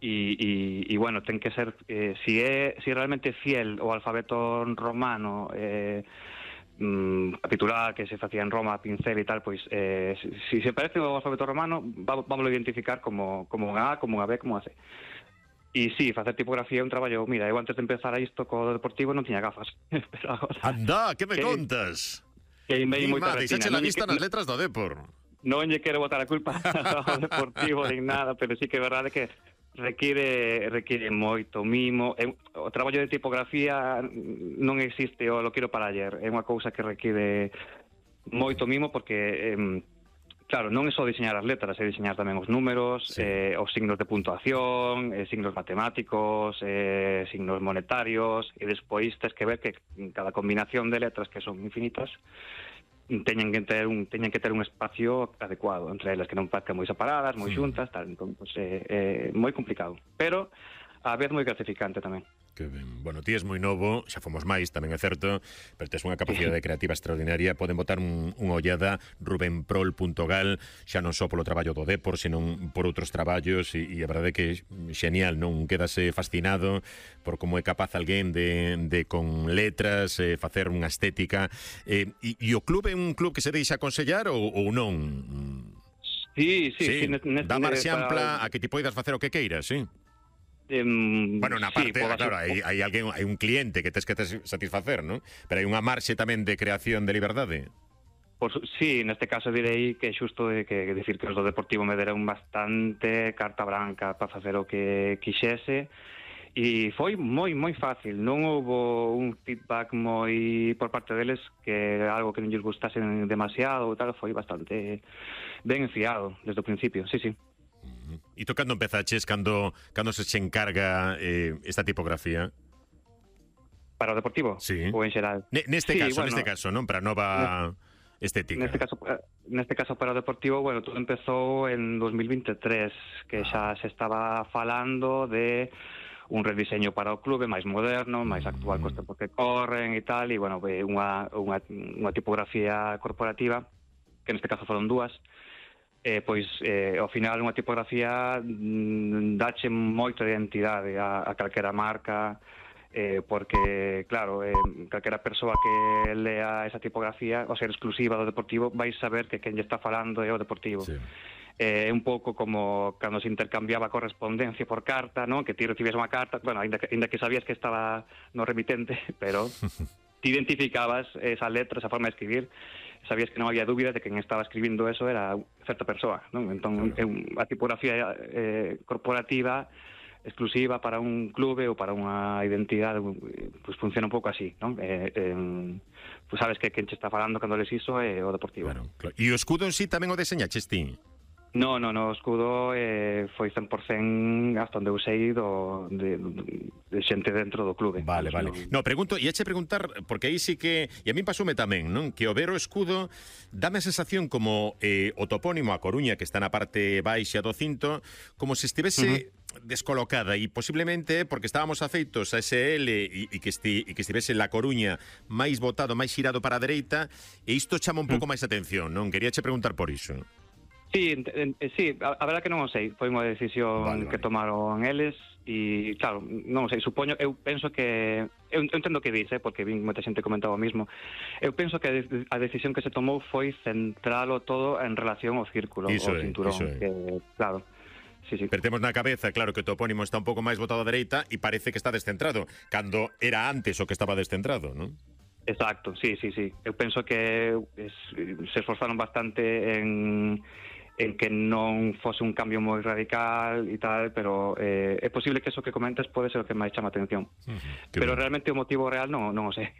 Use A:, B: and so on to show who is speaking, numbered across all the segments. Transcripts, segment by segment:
A: e bueno, ten que ser si realmente fiel ao alfabeto romano, capitular que se facía en Roma a pincel e tal, pois si se parece ao alfabeto romano, vámoslo identificar como unha A, como unha B, como unha C. E si, facer tipografía é un traballo. Mira, eu antes de empezar a isto co Deportivo non tiña gafas, pero agora...
B: Anda, que me contas?
A: Que invei moita retina.
B: Deixache la vista nas letras do Depor.
A: Non lle quero botar a culpa ao Deportivo nin nada, pero sí que é verdade que require moito mimo. O traballo de tipografía non existe o lo quero para ayer, é unha cousa que require moito mimo porque claro, non é só diseñar as letras, é diseñar tamén os números, os signos de puntuación, signos matemáticos, signos monetarios, e despois tens que ver que cada combinación de letras, que son infinitas, teñen que ter un espacio adecuado entre elas, que non parezcan moi separadas, moi xuntas, tal. Entón, pues, é moi complicado, pero a vez moi gratificante tamén.
B: Que ben. Bueno, ti és moi novo, xa fomos máis, tamén é certo, pero tes unha capacidade creativa extraordinaria. Poden botar unha ollada, rubenprol.gal, xa non só polo traballo do Depor, senón por outros traballos, e a verdade é que é xenial, non? Quedase fascinado por como é capaz alguén de con letras, facer unha estética. E o club é un club que se deixa aconsellar ou non?
A: Sí.
B: Dá marxe ampla a que ti poidas facer o que queiras, sí? Bueno, na parte, claro, hai alguén, hai un cliente que tes que satisfacer, non? Pero hai unha marxe tamén de creación de liberdade.
A: Sí, neste caso direi que é xusto que decir que os do Deportivo me deron bastante carta branca para facer o que quixese, e foi moi fácil. Non houbo un feedback moi por parte deles que algo que non lles gustase demasiado ou tal. Foi bastante ben enfiado desde o principio, sí.
B: E tú cando empezaches, cando se encarga esta tipografía?
A: Para o Deportivo?
B: Sí.
A: Ou en xeral?
B: Neste caso, non? Para a nova estética.
A: Neste caso para o Deportivo, bueno, todo empezou en 2023, que xa se estaba falando de un rediseño para o clube máis moderno, máis actual cos tempos que corren e tal, e bueno, unha tipografía corporativa, que neste caso foron dúas. Pois ao final unha tipografía dache moito de identidade a calquera marca, porque claro, calquera persoa que lea esa tipografía, ao ser exclusiva do Deportivo, vais saber que quen lle está falando é o Deportivo.
B: Sí.
A: É un pouco como cando se intercambiaba correspondencia por carta, non? Que ti recibías unha carta, bueno, ainda que sabías que estaba no remitente, pero ti identificabas esa letra, esa forma de escribir, sabías que non había dúbida de que quen estaba escribindo eso era certa persoa, non? Entón, a tipografía corporativa exclusiva para un clube ou para unha identidade, pues funciona un pouco así, non? Pues sabes que quen che está falando cando les iso é o Deportivo.
B: Claro. E o escudo en sí tamén o deseñaches ti?
A: No, o escudo foi 100% hasta onde eu sei de xente dentro do clube.
B: Vale. No, pregunto, e eche preguntar, porque aí sí que, e a mí pasoume tamén, non? Que o ver o escudo dame a sensación como o topónimo a Coruña, que está na parte baixa do cinto, como se estivese descolocada, e posiblemente porque estábamos afeitos a ese L e que estivese La Coruña máis botado, máis xirado para a dereita, e isto chama un pouco máis atención, non? Queríache preguntar por iso.
A: Sí, a verdade que non o sei. Foi unha decisión que tomaron eles e, claro, non o sei, supoño, eu penso que eu entendo que dice, porque vin moita xente comentaba o mismo. Eu penso que a decisión que se tomou foi centralo todo en relación ao círculo, ao cinturón, que, claro. Sí.
B: Pero temos na cabeza, claro, que o topónimo está un pouco máis botado a dereita e parece que está descentrado, cando era antes o que estaba descentrado, non?
A: Exacto, sí. Eu penso que se esforzaron bastante en que non fose un cambio moi radical e tal, pero é posible que eso que comentas pode ser o que máis chama atención. Pero realmente o motivo real non o sei.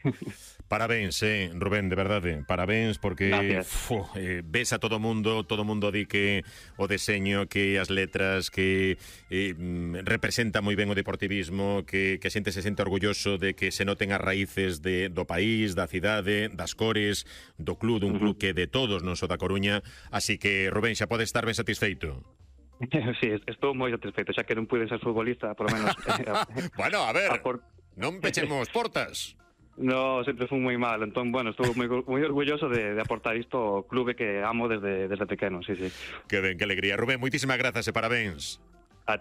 B: Parabéns, Rubén, de verdade, parabéns, porque ves a todo mundo di que o deseño, que as letras, que representa moi ben o deportivismo, que a xente se sente orgulloso de que se noten as raíces do país, da cidade, das cores, do club, dun club que de todos, non só da Coruña. Así que, Rubén, xa pode estar ben satisfeito.
A: Sí, estou moi satisfeito, xa que non pude ser futbolista, por lo menos.
B: Bueno, a ver, non pechemos portas.
A: No, sempre fui moi mal, entón, bueno, estou moi orgulloso de aportar isto ao clube que amo desde pequeno, sí.
B: Que ben, que alegría. Rubén, moitísimas grazas e parabéns.